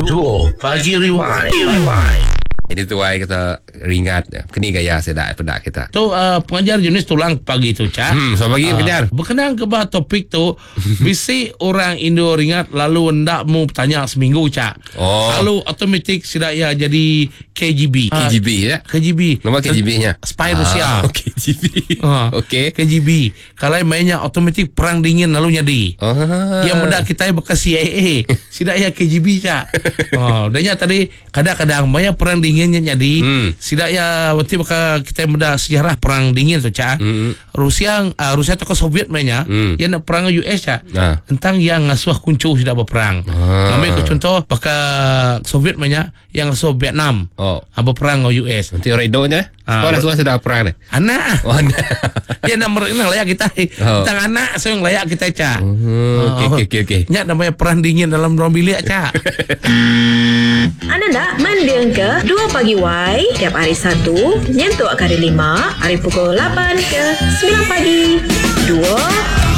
Dua Pagi Rewind. Ini tuai kita ringat keni gaya sida peda kita. Tu uh, pengajar jenis tulang pagi tu cak. Hmm, selamat pagi uh, pengajar. Berkenaan ke bah topik tu bisi orang Indo ringat lalu ndak mu bertanya seminggu cak. Oh. Lalu automatik sida ya jadi KGB. KGB ya. KGB. Nama KGB nya. Spy Rusia. Ah, KGB. Ah. Okey. KGB. Kalau mainnya automatik perang dingin lalu nyadi. Ah. Yang benda kita bekas CIA. Sidak ya KGB cak. Oh, danya tadi kadang-kadang maya perang dinginnya nyadi. Sidak ya waktu baka kita benda sejarah perang dingin tu cak. Rusia uh, Rusia atau Soviet mainnya, yang nak perang dengan US cak. Ah. Tentang yang ngasuh kuncu sudah berperang. Ah. Ambil ke contoh baka Soviet mainnya yang ngasuh Vietnam. Oh. Ah, berperang dengan US. Nanti orang Indo nya. Ah. Kau dah sudah sudah perang ni. Anak. Oh, nah. Dia nak mereka layak kita. Oh. Tentang anak saya yang layak kita cak. Hmm, okey okey okey okey. Nyak namanya perang dingin dalam ruang bilik cak. Anda nak mending ke 2 pagi Y tiap hari 1 nyentuk ke hari 5 hari pukul 8 ke 9 pagi. 2.